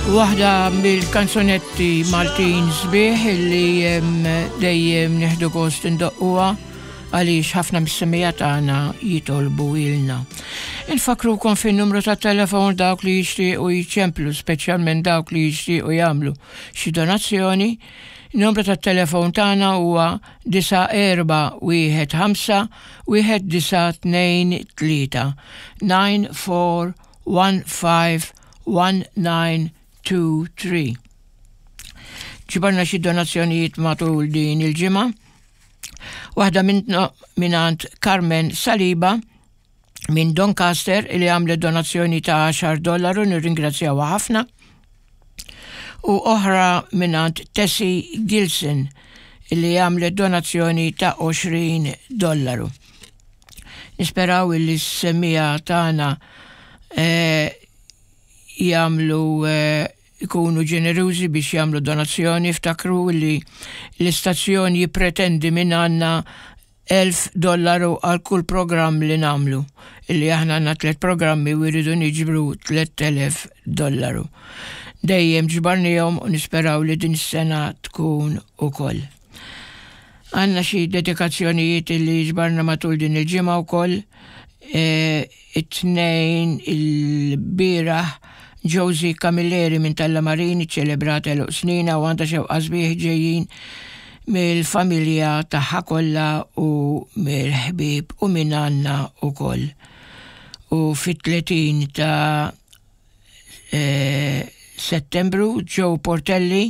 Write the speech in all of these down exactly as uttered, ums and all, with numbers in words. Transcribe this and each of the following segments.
Waħda mill-kanzunetti Maltin sbieħ li dejjem nieħdu gost indoqquha għaliex ħafna mis-semmiegħa tagħna jitolbu ilna. Infakrukom fin-numru ta' telefon dawk li jixtiequ jiċemplu, speċjalment dawk li jixtiequ jagħmlu xi donazzjoni. Numru ta' telefon tagħna huwa disa' erba' wieħed ħamsa wieħed disa' tnejn tlieta nine four one five one nine two three. Ġibarna xi donazzjonijiet matul din il-ġimgħa. Waħda mingħand Carmen Saliba minn Doncaster li għamlet donazzjoni ta' għaxar dollaru, nirringrazzjawha ħafna. U oħra mingħand Tessie Gilson li għamlet donazzjoni ta' għoxrin dollaru. Nisperaw li s-semmiegħa tagħna, eh, jagħmlu, eh, ikunu ġenerużi biex jagħmlu donazzjoni. Ftakru li l-istazzjon jippretendi minn għandna elf dollaru għal kull programm li nagħmlu. Illi aħna għandna tliet programmi u jridu niġbru tlett elef dollaru. Dejjem ġbarnihom u nisperaw li din is-sena tkun ukoll. Għandna xi dedikazzjonijiet li ġbarna matul din il-ġimgħa wkoll. E, it-tnejn il-bieraħ Josie Camilleri minn Tallamarini ċelebrat għeluq snina u għandha xewqa sbieħ ġejjin mill-familja tagħha kollha u mill-ħbieb u minn għandna wkoll. U fit-tletin ta' e, Settembru Joe Portelli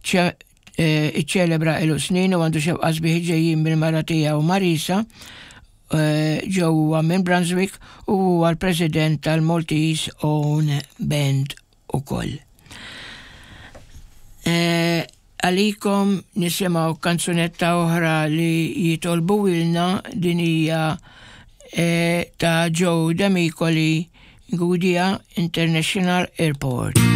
ċe-, e, iċċelebra għeluq snin u għandu xewqa sbieħ ġejjin mill-mara tiegħu Marisa. Eh, Joe huwa minn Brunswick u huwa l-president tal-Maltese Own Band ukoll. Eh, għalikom nisimgħu kanzunetta oħra li jitolbu ilna, din hija, eh, ta' Joe Demicoli, Gudja International Airport.